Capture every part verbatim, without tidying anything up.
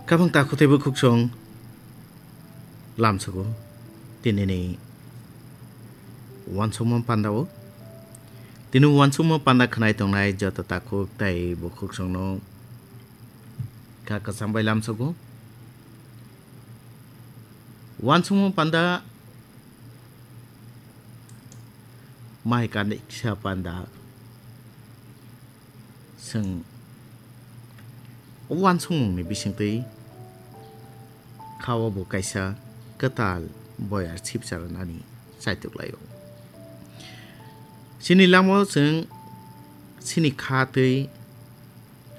Kabang takhuk tei bukhuksong lamsogo tinini uansukma pandao. Tini uansukma panda khwnai tongnai joto takhuk tei bukhuksongno kha kwcham bai lamsogo. Uansukma panda mai kaniksa panda. Chwng o uansukmungni bisingtwi kha-o bo kaisa kwtal boyar sipsa rwnani chaitok lai-o. Chini langmao chwng chini kha twi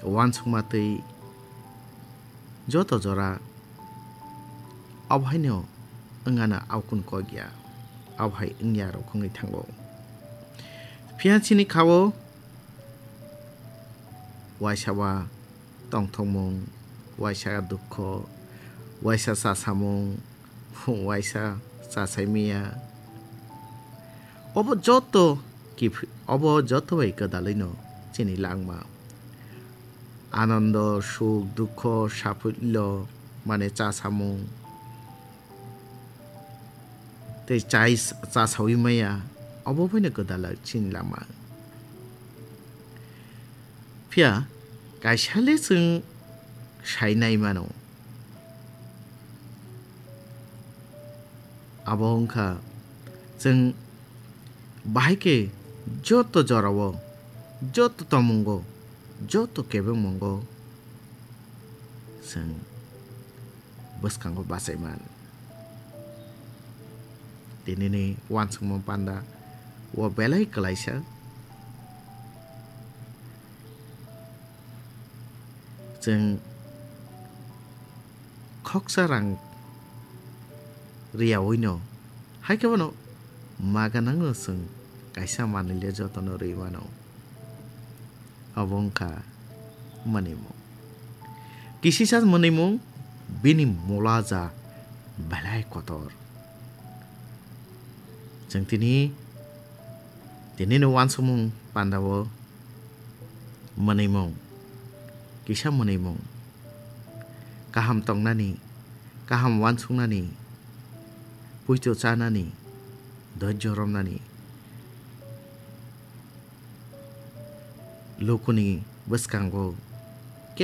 uansukma twi joto jora abo haino wngano aokun kok ya, abo hai wngya rok wngwi thango. Phiya chini kha-o waisa ba tongthokmung, waisa dukho, waisa chasamung, waisa chasai miya. Obo joto kiphi-, obo joto bai kwdalwino chini langma. Anondo, suk, dukho, saphullo, mane chasamung. Tei chai s-, chasaui maya, obo boino kwdala chini lama. Phiya kaisa le chwng sai nai mano. Abo wngkha chwng bahai khe joto jorao, joto tomungo, joto kebengmungo chwng bwskango bachai man. Tinini uansukma panda o belai kwlaisa. Chwng khoksa rang riyawino, hai khe bono ma gwnangno chwng kaisa manwile jotono rwi mano. Obo wngkha mwnwimung. Kisisa mwnwimung bini mula ja belai kotor. Chwng tini, tinini uansukmung pandao mwnwimung, kisa mwnwimung, kaham tongnani, kaham uansuknani, puito chanani, doijjo romnani, lukuni bwskango